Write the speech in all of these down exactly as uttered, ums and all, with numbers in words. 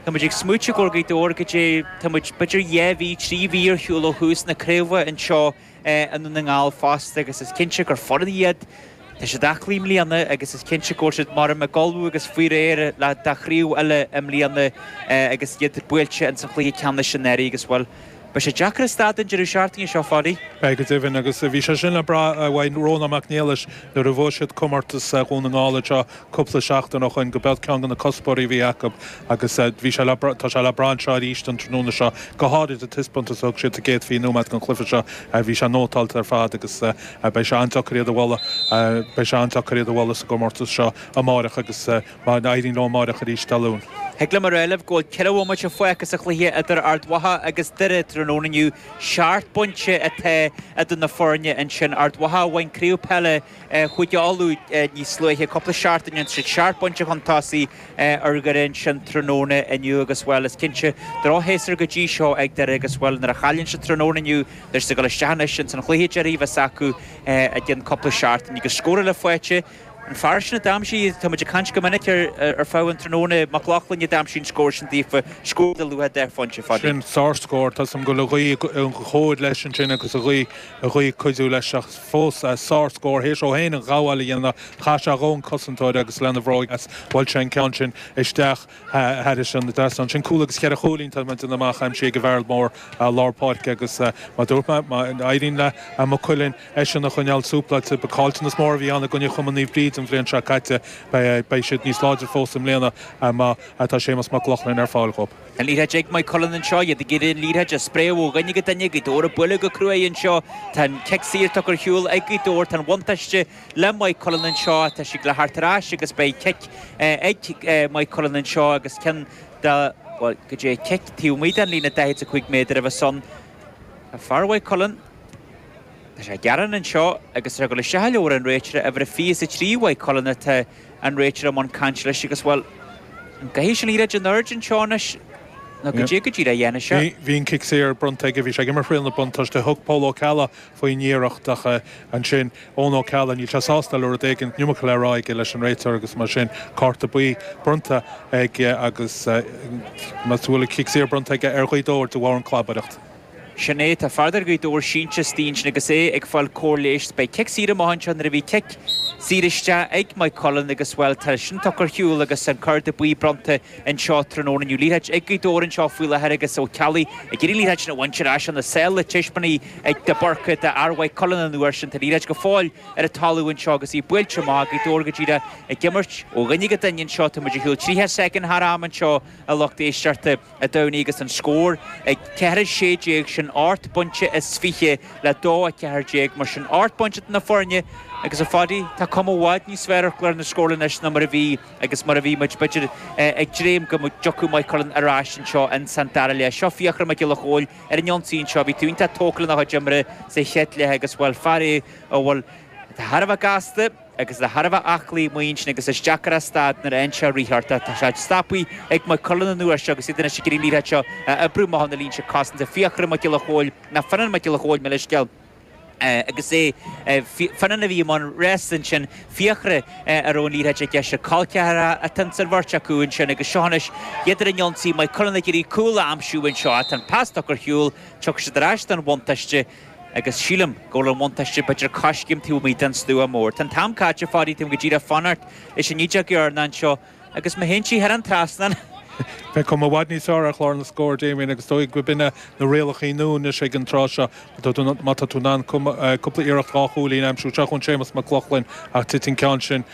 Tá muid ag smaointiú go Gaoth Dobhair go dtí tá muid b'fhéidir dhá mhí trí mhí ar shiúl ó thús na craoibhe anseo i nDún na nGall fosta agus is cinnte gur foireann iad Tá siad aclaí i mbliana agus is cinnte go bhfuil siad mar ag ullmhú agus faoi réir le do chraobh eile i mbliana agus iad buailte in sa chluiche ceannais anuraidh agus bhuel beidh sé deacair a stad an deireadh seachtaine seo Pháidí. Beidh go deimhin agus bhí sé sin le brath uaidh Rónán Mac Niallais nuair a bhuaigh siad comórtas Dhún na nGall seo cúpla seachtain ó shin go b'é ceann de na cuspóirí a bhí acu agus bhí sé tá sé le brath anseo arís an tráthnóna seo go háirid an taispeántas a thug siad sa gcéad fiche nóiméad den chluiche seo bhí sé nótálta ar fad agus beidh sé an-deacair iad a bhualadh beidh sé an-deacair iad a bhualadh sa gcomórtas seo amárach agus má éiríonn leo amárach arís Dé Luain. Thig liom a rá libh go bhfuil ceithre bhomaite fágtha sa chluiche idir Ard Mhacha agus Doire tráthnóna inniu seacht bpointe atá idir na foirne ansin Ard Mhacha a bhain craobh peile Chúige Uladh níos luaithe cúpla seachtain tá siad seacht bpointe chun tosaigh ar Dhoire ansin tráthnóna inniu agus bhuel is cinnte drochshéasúr go dtí seo ag Doire agus bhuel nuair a chailleann siad tráthnóna inniu tá siad ag dul isteach anois in san chluiche deiridh a bheas acu i gceann cúpla seachtain agus scór eile faighte An fear sin a d'aimsigh tá muid ag caint go minic ar ar feadh an tráthnóna Mac Lochlainn a d'aimsigh an scór sin daofa scór de luach deich phointe Pháidí. Sin sárscór tá sam go le ghaoth an chóir leis ansin agus a ghaoth a ghaoth cuidiú leis ach fós sárscór théis ó féin an ghabháil a dhéanamh chaith sé dhó an cosantóir agus lena bhróig as bhuail sé an ceann sin isteach thairis an trasnán sin cúl agus ceithre chúilín tá muid amach aimsithe ag an bhfear mór lár páirce agus má dúirt mé má éiríonn le Maigh Cuilinn eisean a choinneáil súpláilte ba caillteanas mór a bhí ann i gcoinne Chumann Naomh Bríd an bhliain seo caite beidh siad níos láidre fós i mbliana má tá Séamus Mac Lochlainn ar fáil dhóibh. An liathróid ag Maigh Cuilinn anseo iad ag iarraidh an liathróid a spréadh ó dhuine go duine Gaoth Dobhair ag bualadh go cruaidh anseo Tá an cic saor tugtha ar shiúl ag Gaoth Dobhair tá an bhuntáiste le Maigh Cuilinn anseo tá siad le theacht ar ais agus beidh cic ag Maigh Cuilinn anseo agus ceann de bhuel go dtí cic taobh amuigh den líne daichead a cúig méadar a bheas ann. Tá fear Mhaigh Cuilinn Tá sé ag gearán anseo agus tá sé ag dul isteach i leabhar an réiteora uimhir a fiche is a trí Mhaigh Cuilinn atá an réiteoir i mbun cainte leis agus bhuel an gcaithfidh sé an liathróid in airde anseo anois nó goidé go díreach a dhéanfaidh sé. Bhí an cic saor bronnta aige, bhí sé ag imirt riail na buntáiste, thug Pól Ó Ceallaigh faoin iarracht ach ansin Eoin Ó Ceallaigh, níl sé sásta le rud éigin, an iomarca le rá aige leis an réiteoir agus mar sin cárta buí bronnta aige agus más bhfuil an cic saor bronnta aige ar Ghaoth Dobhair de bharr an clabaireacht. Sin é, tá fear de Ghaoth Dobhair sínte istigh ansin agus é ag fáil cóir leighis. Beidh cic saor amach anseo nuair a bhí cic saor isteach ag Maigh Cuilinn agus bhuel tá sin tugtha ar shiúl agus an cárta buí bronnta anseo tráthnóna inniu. Liathróid ag Gaoth Dobhair anseo faoi láthair agus Ó Ceallaigh ag iarraidh an liathróid sin a bhaint ar ais óna sáil le tiospanaí ag de Búrca d'fhear Mhaigh Cuilinn an uair sin. Tá liathróid go fóill ar an talamh anseo agus í buailte amach Gaoth Dobhair go díreach ag imirt ó dhuine go duine anseo. Tá muid ar shiúl tríocha soicind thar am anseo a lucht éisteachta. a Domhnaigh agus an scór ag ceithre sé déag sin ocht bpointe is fiche le dó a ceathair déag mar sin ocht bpointe idir na foirne agus a Phadaí tá cuma i bhfad níos fearr ar chlár na scórála anois ná mar a bhí agus mar a bhí muid b'fhéidir ag dréim go dtiocfadh Maigh Cuilinn ar ais anseo ins an dara leath. Seo Fiachra Mac Giolla Chóill ar an ionsaí anseo bhí tú iontach tógtha lena chuid imeartha sa chéad leath agus bhuel fear é a bhfuil atá thar a bheith gasta agus atá thar a bheith aclaí amuigh ansin agus is deacair a stad nuair a fhaigheann sé rith ort. Tá sé stoptha ag Maigh Cuilinn an uair seo agus iad anois ag iarraidh an liathróid seo a oibriú amach óna línte cosanta. Fiachra Mac Giolla Chóill, ná Fionnán Mac Giolla Chóill, mo leithscéal, agus é Fionnán a bhí i mbun rása ansin, Fiachra a raibh an liathróid aige. Col ceathracha atá ins an bheirt acu ansin agus seo anois iad ar an ionsaí, Maigh Cuilinn ag iarraidh cúl a aimsiú anseo. Tá an pas tugtha ar shiúl, tiocfaidh siad ar ais don bhuntáiste. Agus sílim go bhfuil an bhuntáiste b'fhéidir coiscéim taobh amuigh den stua mór. Tá an t-am caite, a Phadaí, táim go díreach ag fanacht leis an ídeog dheireanach anseo agus má théann sí thar an trasnán. Beidh cuma i bhfad níos fearr ar chlár na scór, Damien, agus is dóigh go b'in na rialacha nua anois ag an tráth seo. Má tá tú in ann cúpla iarracht dhá chúilín a aimsiú, seo chugainn Séamus Mac Lochlainn ach titeann an ceann sin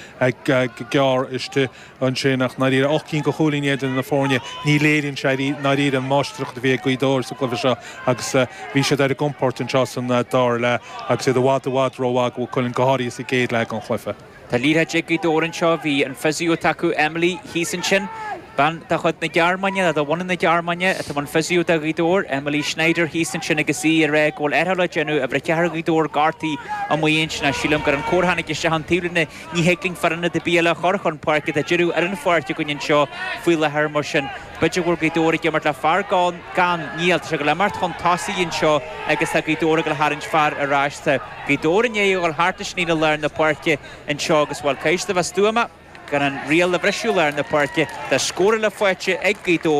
go gearr istigh. ansin ach ndáiríre ocht gcinn de chúilíní idir na foirne, ní léiríonn sé ndáiríre an máistreacht a bhí ag Gaoth Dobhair sa gcluiche seo agus bhí siad ar a gcompord anseo san dara leath agus iad i bhfad i bhfad rómhaith do Mhaigh Cuilinn, go háirithe sa gcéad leath den chluiche. Tá liathróid ag Gaoth Dobhair anseo, bhí an physio atá acu, Emily, thíos ansin, bean de chuid na Gearmáine, nó de bhunadh na Gearmáine, atá i mbun physio do Ghaoth Dobhair, Emily Schneider thíos ansin agus í ag rá go bhfuil athrú le déanamh, uimhir a ceathair Ghaoth Dobhair gortaithe amuigh ansin ach sílim gur an comhartha tháinig isteach an taobhlíne Ní thig linn foireann ar bith eile a chur chun páirce. Tá deireadh ar an pháirc againn anseo faoi láthair mar sin b'fhéidir go bhfuil Gaoth Dobhair ag imirt le fear gann, gan, níl, tá sé ag dul imirt chun tosaigh anseo agus tá Gaoth Dobhair ag dul a tharraingt fear ar ais. Tá Gaoth Dobhair i ndiaidh a dhul thart leis an líne lár na páirce anseo agus bhuel caithfidh siad a bheith stuama gan an riail a bhriseadh lár na páirce. Tá scór eile faighte ag Gaoth Dobhair.